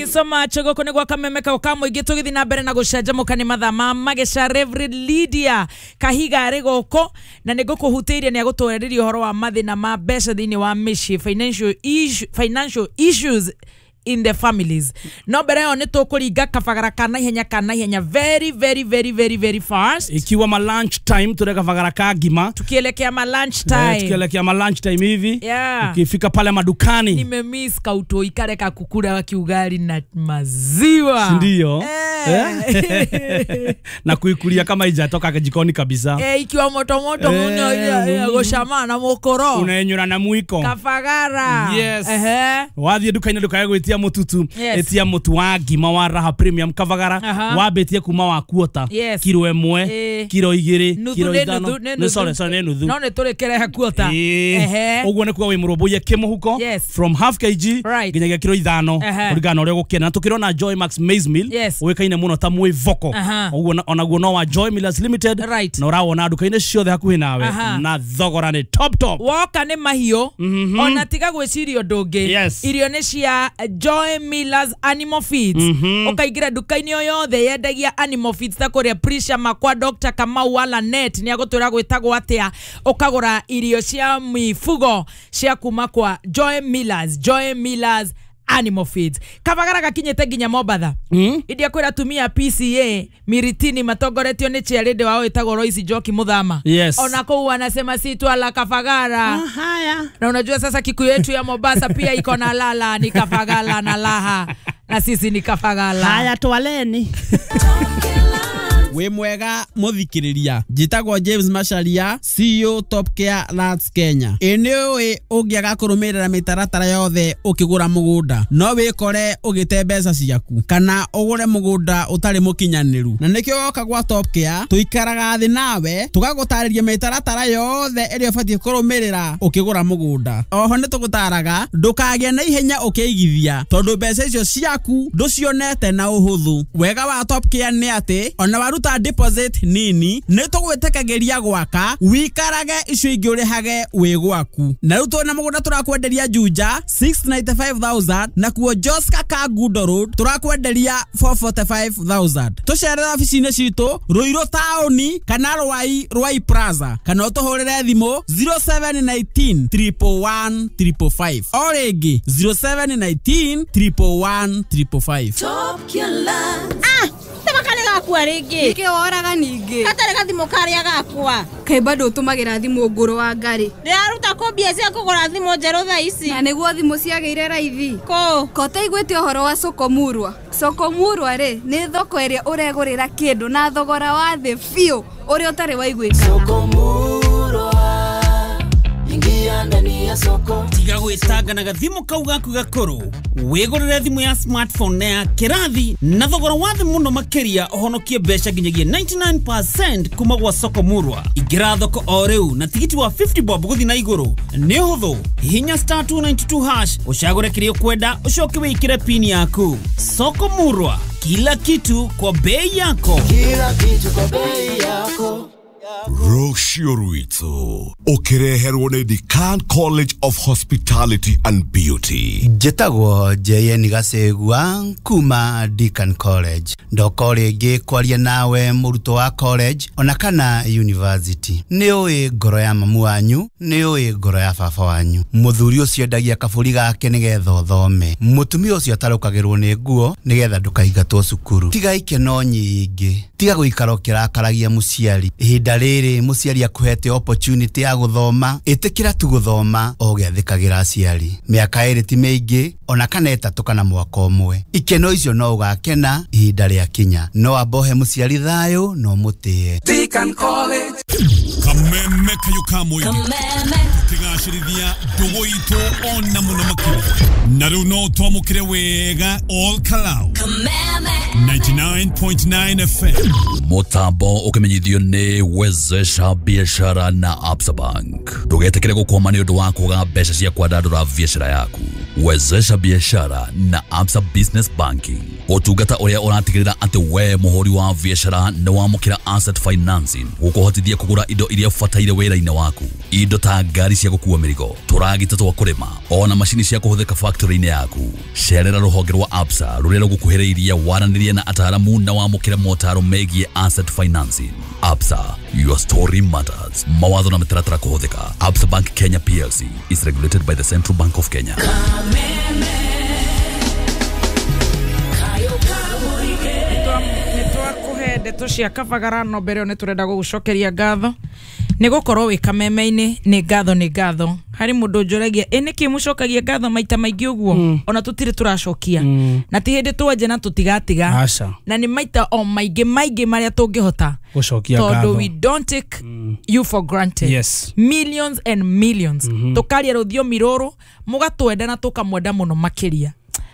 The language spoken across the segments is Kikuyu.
So much goko nĩ gwa Kameme kau ka mũingĩ tũgĩthiĩ na mbere na gũcanjamũka nĩ mathaa ma mageca. Reverend Lydia Kahiga arĩ gũkũ na nĩ ngũkũhutĩirie nĩ agũtwarĩria ũhoro wa mathĩna ma mbeca thĩinĩ wa mĩciĩ, financial issues in the families. No mbere ĩyo nĩ tũkũringa kabagara ka naihenya ka naihenya, very very very very very fast. Ikiwa ma lunch time, tureka bagara ka ngima. Tukielekea ma lunch time. Tukielekea ma lunch time hivi. Ukifika pale madukani. Nimemiss kautoi kare kakukura kiugali na maziwa. Ndio. Na kuikulia kama haijatoka jikoni kabisa. Ikiwa moto moto muno goshama na mokoro. Unaenyura na mwiko. Kafagara. Yes. Wathie dukaini ndukae gwitia mututu. Etia mutu wa ngima wa Raha Premium Kavagara. Wambitie kuma wa kuota. Kiro 1, kiro 2, kiro 5. Nĩ sorry sorry nĩ nuthu. No nĩ tũrĩkerehe kuota. Ũguo nĩ kuga wĩ mũrũmbũiye kĩmũhuko from half kg nginyagia kiro 5 kũringana na ũrĩa ũgũkena. Na tũkĩrona Joy Max Maize Meal ũĩkaine mũno ta mwĩvoko. Ũguo onaguo no wa Joy Millers Limited na ũrawona nduka-inĩ ciothe hakuhĩ nawe na thogora nĩ top top. Woka nĩ mahiũ ona tiga gwĩciria ũndũ ũngĩ. Irio nĩ cia Joy Millers Animal Feeds. Ũkaingĩra nduka-inĩ o yothe yendagia animal feeds ta kũrĩa Prisha Makwa, Dr. Kamau wala net nĩ agũtwĩra gwĩtagwo atĩa, ũkagũra irio cia mifugo cia kuma kwa Joy Millers, Joy Millers Animal Feeds. Kabagara gakinyĩte nginya Mombatha. India kwĩra tumia PCA Miritini matongoretio nĩ chairlady wao ĩtagwo Royce Njoki Muthama. Ona kũu wanasema si twala Kafagara. Na unajua sasa Kikuyu yetu ya Mombasa pia iko na lala ni Kafagala na laha na sisi ni Kafagala. Haya twaleni. Wĩ mwega mũthikĩrĩria, njĩtagwo James Macharia, CEO Top Care Lands Kenya. Ĩ nĩ ũĩ ũngĩaga kũrũmĩrĩra mĩtaratara yothe ũkĩgũra mũgũnda no wĩkore ũgĩte mbeca ciaku kana ũgũre mũgũnda ũtarĩ mũkinyanĩru, na nĩkĩo woka gwa Top Care tũikaraga thĩ nawe tũgagũtarĩria mĩtaratara yothe ĩrĩa ũbatiĩ kũrũmĩrĩra ũkĩgũra mũgũnda. Oho nĩ tũgũtaraga ndũkagĩe na ihenya ũkĩigithia tondũ mbeca icio ciaku ndũcionete na ũhũthũ. Wega wa Top Care nĩ atĩ ona waruta deposit nini nĩ tũgwĩtĩkagĩria gwaka wikarage icio ingĩ ũrĩhage wĩ gwaku. Na rĩu twĩna mũgũnda tũrakwenderia Juja 695,000 na kuo Joska Kangundo Road tũrakwenderia 445,000. Tũcerere obici-inĩ citũ Ruiru taũni kana Rwai Rwai Plaza kana ũtũhũrĩre thimũ 0719 111 555 o rĩngĩ 0719 111 555. Top Care. Gakwa rĩngĩ nĩkĩ woraga ningĩ gatarĩ gathimũ karĩa gakwa kaĩ bado ũtũmagĩra thimũ ngũrũ wa ngari ndĩraruta kũ mbia cia kũgũra thimũ njerũ thaa ici na nĩguo thimũ ciagĩire raithi kũ kotaiguĩte ũhoro wa Sokomurwa. Sokomurwa rĩ nĩ thoko ĩrĩa ũregũrĩra kĩndũ na thogora wa thĩ biũ ũrĩa ũtarĩ waiguĩkana. Sokomurwa, ingia ndani ya soko. Tiga gwĩtanga na gathimũ kau gaku gakũrũ wĩgũrĩre thimũ ya smartphone na ya kĩrathi na thogora wa thĩ mũno makĩria ũhonokie mbeca nginyagia 99% kuma gwa Sokomurwa. Ingĩra thoko o rĩu na tigiti wa 50 bob gũthiĩ na igũrũ nĩ ũhũthũ. Hihinya star 292 hash ũcagũre kĩrĩa ũkwenda ũcoke wĩkĩre pin yaku. Sokomurwa, kila kitu kwa bei yako. Kila kitu kwa bei yako. Rũciũ rwitũ ũkĩreherwo nĩ Decan College of Hospitality and Beauty. Njĩtagwo JN Gacegua kuma Decan College. Ndoka rĩngĩ kwaria nawe mũrutwo wa college ona kana university. Nĩ ũĩ ngoro ya mamu wanyu, nĩ ũĩ ngoro ya baba wanyu. Mũthuri ũcio endagia kabũri gake nĩgetha ũthome. Mũtumia ũcio atarũkagĩrwo nĩ nguo nĩgetha ndũkaingatwo cukuru. Tiga ikeno nyingĩ, tiga gũikara ũkĩrakaragia mũciari. Ihinda rĩrĩ mũciari akuhete opportunity ya gũthoma, ĩtĩkĩra tu gũthoma o ũgĩathĩkagĩra aciari. Mĩaka 2 ti mĩingĩ ona kana 3 kana mwaka ũmwe. Ikeno icio no ũgakena ihinda rĩakinya. No ambohe mũciari thayũ no mũtĩe. Decan College. Kameme kayo ka mũingĩ tũkĩgacĩrithia ndũgũ itũ ona mũno makĩria na rĩu no twamũkĩre wega all Kalau 99.9 FM. Mutambo ukimenyithio nĩ Wezesha Biashara na Absa Bank. Ndũgetĩkĩre gũkwama nĩ ũndũ wa kwaga mbeca cia kwandandũra biacara yaku. Wezesha biashara na Absa Business Banking. Ũtungata ũrĩa ũratigĩrĩra atĩ we mũhũri wa biacara nĩ wamũkĩra asset financing gũkũhotithia kũgũra indo iria ũbataire wĩra-inĩ waku, indo ta ngari cia gũkua mĩrigo, tũragita twa kũrĩma, ona macini cia kũhũthĩka factory-inĩ yaku. Cerera rũhonge rwa Absa rũrĩa rũgũkuhĩrĩirie, waranĩrie na ataaramu na wamũkĩre motaro megiĩ asset financing. Absa, your story matters. Mawatho na mĩtaratara kũhũthĩka. Absa Bank Kenya PLC is regulated by the Central Bank of Kenya. Ndeto cia kabagara no mbere nĩ tũrenda gũgũcokeria ngatho nĩ gũkorwo wĩ kameme-inĩ. Nĩ ngatho, nĩ ngatho harĩ mũndũ njũragia ĩ nĩkĩ mũcokagia ngatho maita maingĩ ũguo, ona tũtirĩ tũracokia na ti hĩndĩ twanja na tũtigatiga, na nĩ maita o maingĩ maingĩ marĩa tũngĩhota gũcokia ngatho, tondũ we don't take you for granted. Yes. Millions and millions tũkaria rũthiomi rũrũ mũgatwenda na tũkamwenda mũno makĩria.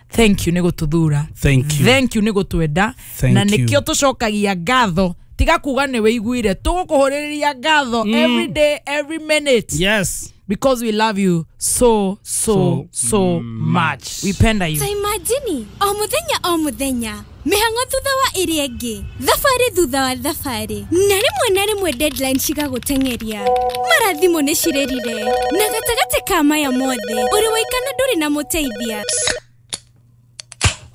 Thank you nĩ gũtũthura. Thank you. Thank you nĩ gũtwenda. Na nĩkĩo tũcokagia ngatho, tiga kuga nĩ wĩiguire, tũgũkũhũrĩrĩria ngatho every day, every minute. Yes. Because we love you so so so much. We penda you. Ta imagine o muthenya o muthenya mĩhang'o thutha wa ĩrĩa ĩngĩ, thabarĩ thutha wa thabarĩ, na rĩmwe na rĩmwe deadline cigagũteng'eria, mara thimũ nĩ cirĩrire, na gatagatĩ ka maya mothe ũrĩ waikana ndũrĩ na mũteithia.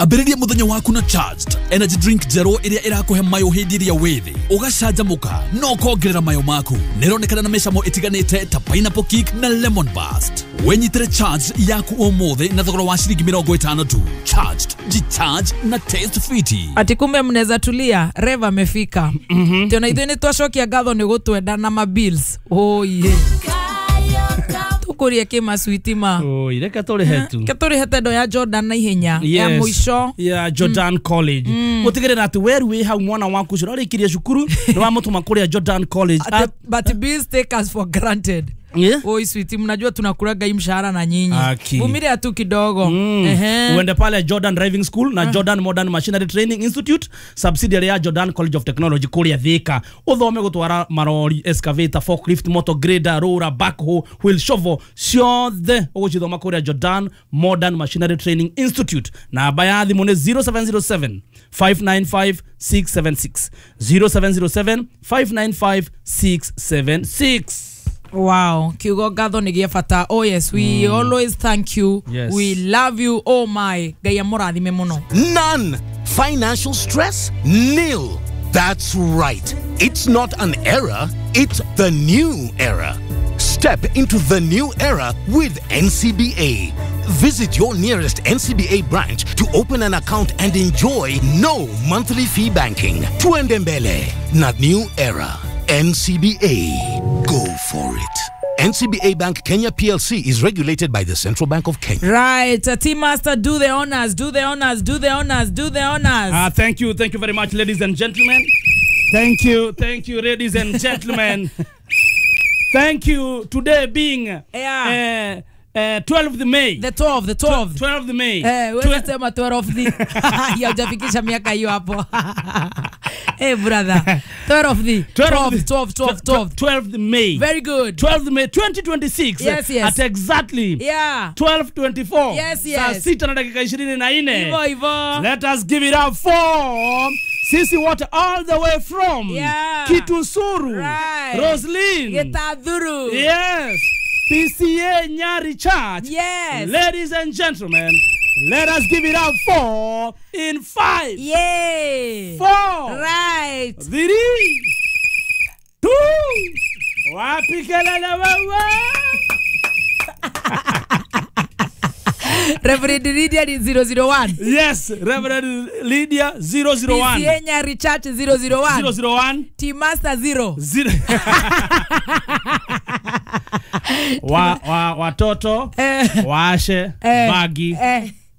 Ambĩrĩria mũthenya waku na Charged energy drink njerũ ĩrĩa ĩrakũhe mayo hĩndĩ ĩrĩa wĩ thĩ, ũgacanjamũka na ũkongerera mayo maku. Nĩĩronekana na mĩcamo ĩtiganĩte ta pineapple kick na lemon burst. Wenyitĩre Charged yaku ũmũthĩ na thogora wa ciringi 50 tu. Charged, jicharge na taste fiti. Ati kumbe mnaweza tulia, Rev amefika. Tena ithuĩ nĩ twacokia ngatho nĩ gũtwenda na ma bills. Oh yeah. Tukurie kĩ maswiti ma. Oi, reke tũrĩhe tu. Ke tũrĩhe tendo ya Jordan na ihenya ya mũico ya Jordan College. Gũtigĩrĩra atĩ weru wĩ hau mwana waku ũcio ũrarĩkirie cukuru nĩ wamũtũma kũrĩa Jordan College. But bills take us for granted. Yeah. Oi sweetie, mnajua tunakulaga hii mshahara na nyinyi. Vumilia tu kidogo. Uende pale Jordan Driving School na Jordan Modern Machinery Training Institute, subsidiary ya Jordan College of Technology kũrĩa Thika. Uthome gũtwara marori, excavator, forklift, motor grader, roller, backhoe, wheel shovel, ciothe ũgũcithoma kũrĩa Jordan Modern Machinery Training Institute. Namba ya thimũ nĩ 0707 595 676, 0707 595 676. Wow, kiugo ngatho nĩ gĩa bata. Oh yes, we always thank you. Yes. We love you. Oh my, Ngai amũrathime mũno. None. Financial stress? Nil. That's right. It's not an era, it's the new era. Step into the new era with NCBA. Visit your nearest NCBA branch to open an account and enjoy no monthly fee banking. Tuende mbele na new era. NCBA. Go for it. NCBA Bank Kenya PLC is regulated by the Central Bank of Kenya. Right, Team Master, do the honors, do the honors, do the honors, do the honors. Thank you very much, ladies and gentlemen. Thank you, ladies and gentlemen. Thank you. Today being 12th May. The 12th, 12th. 12th May. Wewe sema 12th. Ya hujafikisha miaka hiyo hapo. Hey brother, 12th. 12th May. Very good. 12th May 2026. Yes, yes. At exactly 12:24. Yes, yes. Saa 6:24. Ivo, ivo. Let us give it up for Sisi Water all the way from Kitusuru. Right. Roslyn. Gitadhuru. Yes. PCA Nyari Church. Yes. Ladies and gentlemen, let us give it up for in 5. Yay. 4. Right. 3. 2. Wapi kelele wewe? Reverend Lydia 001. Yes, Reverend Lydia 001. PCA Nyari Church 001. 001. Team Master 0. 0. Watoto waashe bagi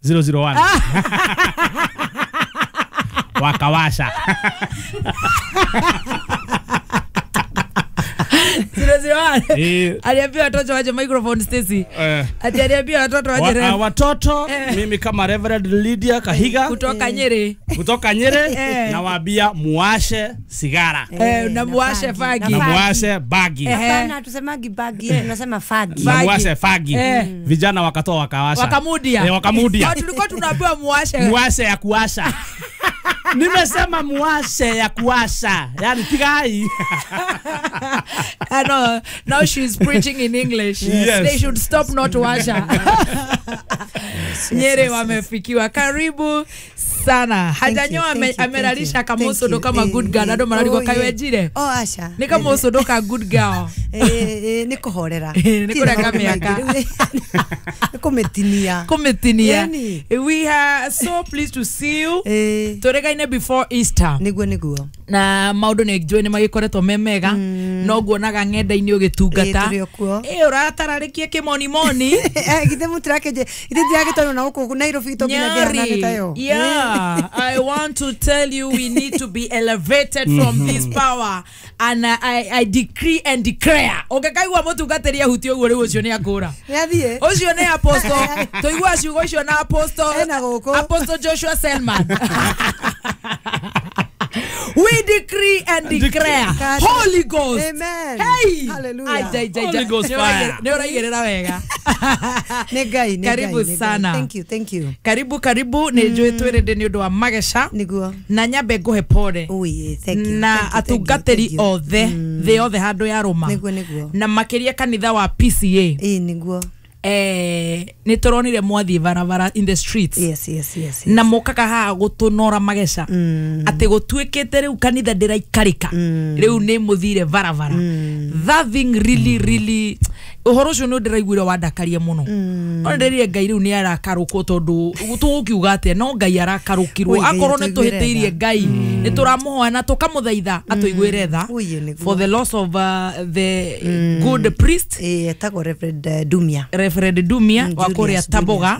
001. Wakawasha. 001. Aliambia watoto waje microphone Stacy. Aliambia watoto waje. Watoto mimi kama Reverend Lydia Kahiga kutoka Nyeri. Kutoka Nyeri nawaambia muashe sigara. Na muashe fagi. Na muashe bagi. Hapana, tusemagi bagi, tunasema fagi. Na muashe fagi. Vijana wakatoa wakawasha. Wakamudia. Wakamudia. Tulikuwa tunaambiwa muashe. Muashe ya kuasha. Nimesema muashe ya kuasha. Yani tigai. I know. Now she's preaching in English. Yes. They should stop not washa. Nyeri wamefikiwa. Karibu sana. Hajanyoa ameralisha kamusodo kama good girl. Ado mararigwa kaiwejire. Oh asha. Ni kamusodo ka good girl. Ni kuhorera. Ni kureka miaka. Ni kumetinia. Kumetinia. We are so pleased to see you. Turegaine before Easter. Niguo niguo. Na maundu ni njui ni magikoretwo me mega. No nguonaga ng'enda-inĩ ũgĩtungata. Ũratararĩkia kĩmonimoni. Githe mũtirakenje. Ithe ndiragĩtwarwo na gũkũ Nairobi tũnginyagia tayo. Yeah, I want to tell you we need to be elevated from this power, and I decree and declare. Ũngĩkaigua mũtungatĩri ahutie ũguo rĩu ũcio nĩ akũra. Nĩathiĩ. Ũcio nĩ apostle. Tũigua ciugo icio na apostle. Apostle Joshua Selman. We decree and declare. Holy Ghost. Amen. Hey. Hallelujah. Holy Ghost fire. Nĩ ũraigĩrĩra wega. Nĩ Ngai, nĩ Ngai. Karibu sana. Thank you, thank you. Karibu, karibu. Nĩ njũĩ twĩrĩndĩ nĩ ũndũ wa mageca. Nĩguo. Na nyambe ngũhe pole. Ui, thank you. Na atungatĩri othe, thĩ yothe handũ ya rũma. Nĩguo, nĩguo. Na makĩria kanitha wa PCA. Ĩĩ, nĩguo. Nĩ tũronire mwathiĩ barabara in the streets. Yes, yes, yes. Na mokaga haha gũtũnora mageca. Atĩ gũtuĩkĩte rĩu kanitha ndĩraikarĩka. Rĩu nĩ mũthire barabara. That thing really really ũhoro ũcio nĩ ndĩraiguire wandakaria mũno. Ona ndĩrire Ngai rĩu nĩ arakarũkwo tondũ tũgũkiuga atĩa no Ngai arakarũkirwo. Akorwo nĩ tũhĩtĩirie Ngai nĩ tũramũhoya na tũkamũthaitha atũiguĩre tha for the loss of the good priest. Etagwo Reverend Dumia. Reverend Dumia wa kũrĩa Taboga.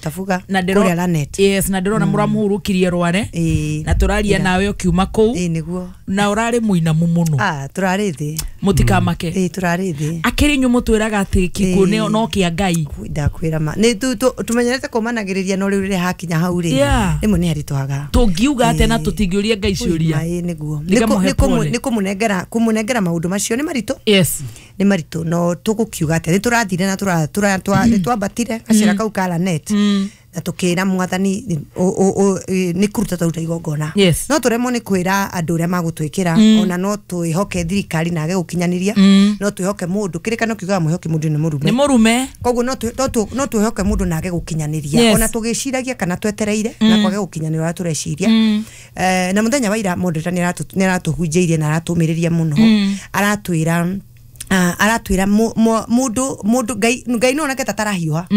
Tabuga. Na ndĩrona Lanet. Yes, na ndĩrona mũramũhurũkirie Rware. Na tũraria nawe ũkiuma kũu. Nĩguo. Na ũrarĩ mũinamu mũno. Tũrarĩ thĩ. Mũtikamake. Tũrarĩ thĩ. Akĩrĩ inyuĩ mũtwĩraga atĩ gĩkuũ nĩ no kĩa Ngai. Ndakwĩra ma. Nĩ tũmenyerete kũmanagĩrĩria no rĩu rĩrĩa hakinya hau rĩ. Rĩmwe nĩ haritũhaga. Tũngiuga atĩa na tũtingĩũria Ngai ciũria. Nĩguo. Nĩ kũmũnengera maũndũ macio nĩ maritũ. Yes. Nĩ maritũ no tũgũkiuga atĩa nĩ tũrathire na nĩ twambatire gacĩra kau ka Lanet. Na tukira mwathani nĩ kũruta twaruta igongona. No tũremwo nĩ kwĩra andũ ũrĩa magũtwĩkĩra ona no twĩhoke thirikari na age gũkinyanĩria no twĩhoke mũndũ kĩrĩkano kiugaga mwĩhoke mũndũ nĩ mũrume nĩ mũrume koguo no twĩhoke mũndũ na age gũkinyanĩria ona tũgĩciragia kana twetereire na kwage gũkinyanĩria ũrĩa tũreciria. Na mũthenya wa ira moderator nĩ aratũhunjĩirie na aratũmĩrĩria mũno aratwĩra mũndũ Ngai no onake ta tarahiũha.